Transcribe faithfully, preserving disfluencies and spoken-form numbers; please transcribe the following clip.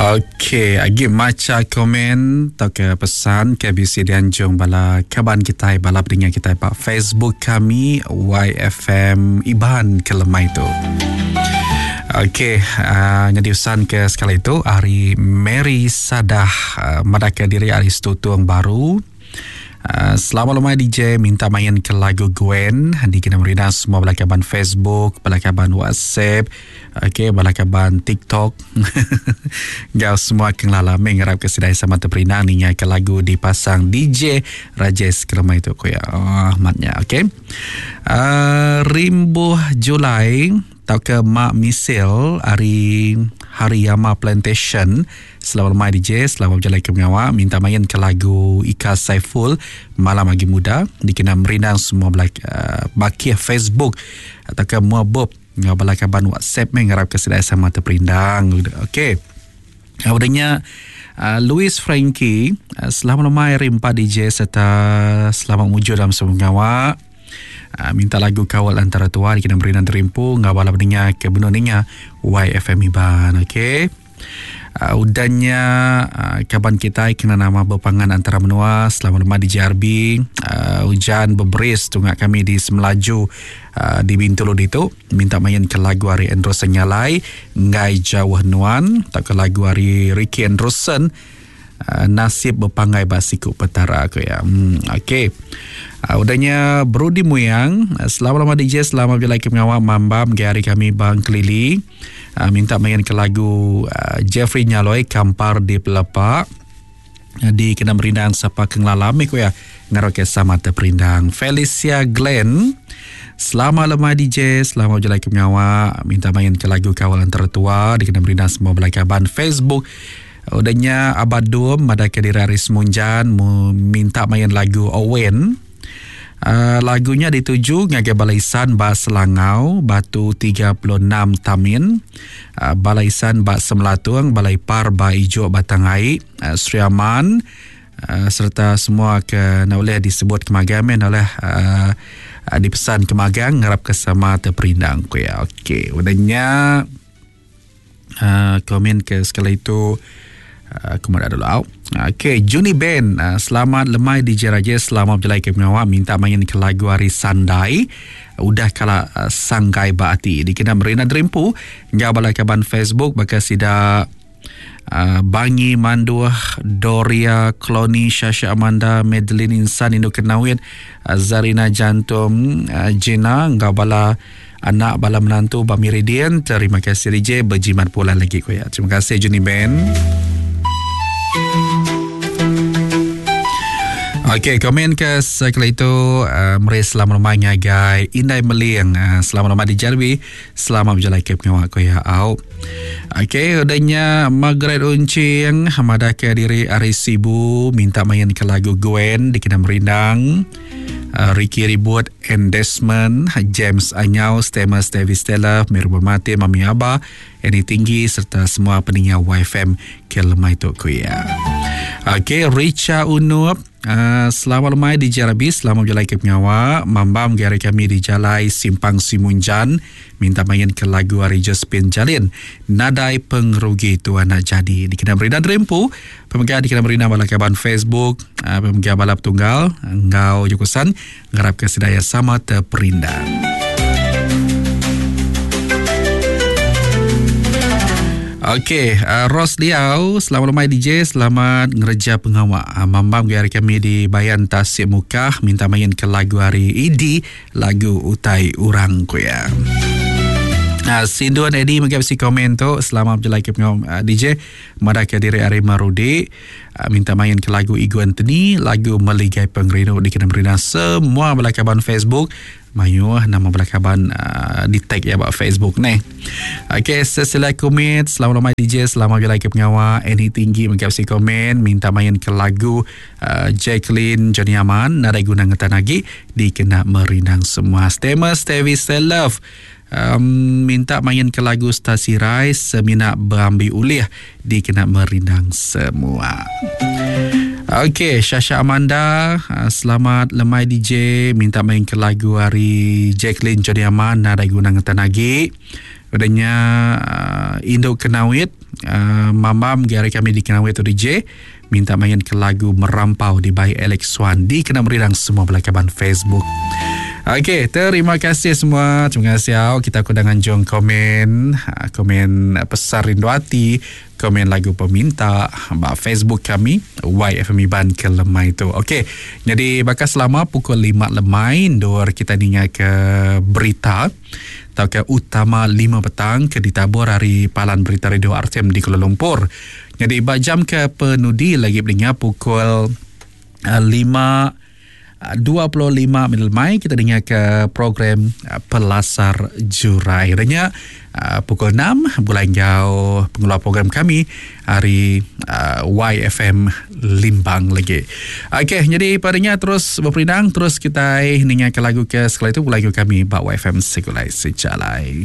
Okey, agi macha komen tauka pesan ke bisi dianjung bala kaban kitai, bala peninga kitai ba Facebook kami Y F M Iban ke lemai tu. Okey, uh, nyadi pesan ke sekali tu hari Mary Sadah uh, madahka diri hari Setutung Baru. Uh, selamat lemai D J, minta main ke lagu Gwen di kena merina semua bala kaban Facebook, bala kaban WhatsApp, okey, bala kaban TikTok. Gau semua kenglala mengarap ke sedai sama terperindang ninga ke lagu dipasang D J Rajesh kelemai tu ko ya. Oh, ahmadnya okey. Uh, Rimbuh Julai tauka Mak Misil hari Hariyama Plantation. Selamat lemai D J, selamat berjalan ke pengawak. Minta main ke lagu Ika Saiful Malam Agi Muda dikena merindang semua belak, uh, bakih Facebook atau ke Muabob ngau bala kaban WhatsApp mengarap ke sedai sama terperindang. Okey. Udahnya uh, Louis Frankie, uh, selamat lemai hari empat D J serta selamat mujur dalam semua pengawak. Uh, minta lagu Kawal Antara Tua dikena merindang terimpu ngau bala pendengar ke benua ninga Y F M Iban. Okey. Uh, udahnya uh, kaban kita kena nama berpangan antara menua. Selamat lemah di J R B. Uh, hujan berberis tunggak kami di Semelaju uh, di Bintulu ditu. Minta main ke lagu hari Andrewson Nyalai Ngai Jauh Nuan tak ke lagu hari Ricky Andrewson uh, Nasib Berpangai Basiku Petara aku ya. Hmm, okey. Uh, udahnya Brudi Muyang, uh, selamat lemah D J, selamat berjalan ke pengawal Mambam hari kami Bang Kelili. Uh, minta main ke lagu uh, Jeffrey Nyaloi Kampar di Pelepak uh, di kena merindang sapa kenglalam ko ya ngaroke sama terperindang. Felicia Glenn, selamat lemah D J, selamat berjalan ke pengawal. Minta main ke lagu Kawalan Tertua di kena merindang semua belakaban Facebook. Udahnya Abadum ada ke diri Aris Munjan minta main lagu Owen. Uh, lagunya dituju ngagai Balaisan Ba Selangau Batu tiga puluh enam Tamin, uh, Balaisan Ba Semelatung, Balai Par Ba Ijo Batangai, uh, Sri Aman, uh, serta semua ke nak boleh disebut kemagang oleh uh, uh, dipesan kemagang ngarap ke sama terperindang ku ya. Okey, udahnya uh, komen ke sekali itu aku uh, dulu out. Okey, Juni Ben, uh, selamat lemai D J Rajesh, selamat berjalan ke pengawal. Minta main ke lagu hari Sandai udah kala uh, sangkai baati dikena merina derimpu ngau bala kaban Facebook baka sida uh, Bangi Manduh, Doria Kloni, Shasha Amanda, Madeline Insan Indo Kenawit, uh, Zarina Jantung, uh, Jena ngau bala anak bala menantu Ba Meridian. Terima kasih D J, berjimat pula lagi ko ya. Terima kasih Juni Ben. Okey, komen ke sekali itu uh, meri selamat lemai ngagai Indai Meling, uh, selamat lemai di Jalwi, selamat berjalan ke pengawak ko ya au. Okey, udahnya Margaret Uncing hamada ke diri Ari Sibu minta main ke lagu Gwen dikena merindang. Uh, Ricky Ribut and Desmond, James Anyau, Stemas Davis Stella, Miru Bermati, Mami Abah, Eni Tinggi serta semua pendengar Y F M ke lemai tu ko ya. Okey, Richa Unup, uh, selamat lemai di Jarabi, selamat berjalan ke pengawak. Mambam gari kami di Jalai Simpang Simunjan, minta main ke lagu Ari Josephine Jalin, Nadai Pengrugi Tuan Nak Jadi. Dikena Merina Dreampu, pemegang dikena Merina bala kaban Facebook, uh, pemegang bala petunggal, engau jukusan, ngarap ke sedaya sama terperindang. Okey, uh, Ros Liau, selamat lemai D J, selamat ngereja pengawak. Uh, Mambam gari kami di Bayan Tasik Mukah, minta main ke lagu hari I D, lagu Utai Urang ku ya. Uh, Sinduan Eddie mengapa si komen tu, selamat berjalan ke pengawak uh, D J, madah ke diri Ari Marudi, uh, minta main ke lagu Igu Anthony, lagu Meligai Pengerinu dikena merina semua belakaban Facebook. Mayu nama belakaban uh, di tag ya buat Facebook ni. Okey, sesila komit, selamat lemai D J, selamat berjalan ke pengawal. Eni Tinggi mengapa si komen, minta main ke lagu uh, Jacqueline Johnny Aman, Nadai Guna Ngetan Lagi, dikena merindang semua. Stemas Tevi Love, um, minta main ke lagu Stasi Rai, Semina Berambi Ulih, dikena merindang semua. Okey, Shasha Amanda, selamat lemai D J, minta main ke lagu hari Jacqueline Johnny Aman, Nadai Guna Ngetan Lagi. Udahnya uh, Indo Kenawit uh, Mamam gari kami di Kenawit tu D J minta main ke lagu Merampau di by Alex Swan di kena merirang semua belakaban Facebook. Okey, terima kasih semua. Terima kasih au. Kita aku dah nganjung komen, komen pesan rindu hati, komen lagu peminta ba Facebook kami Y F M Iban ke lemai tu. Okey, jadi bakal selama pukul lima lemai ndor kita ninga ke berita atau ke utama lima petang ke ditabur hari Palan Berita Radio R T M di Kuala Lumpur. Jadi ba jam ke penudi lagi dengar pukul lima dua puluh lima minit lemai kita dengar ke program Pelasar Jurai. Adanya pukul enam bulan jauh pengelola program kami hari Y F M Limbang lagi. Okey, jadi padanya terus berperindang, terus kita dengar ke lagu ke sekali itu lagu kami bak Y F M Segulai Sejalai.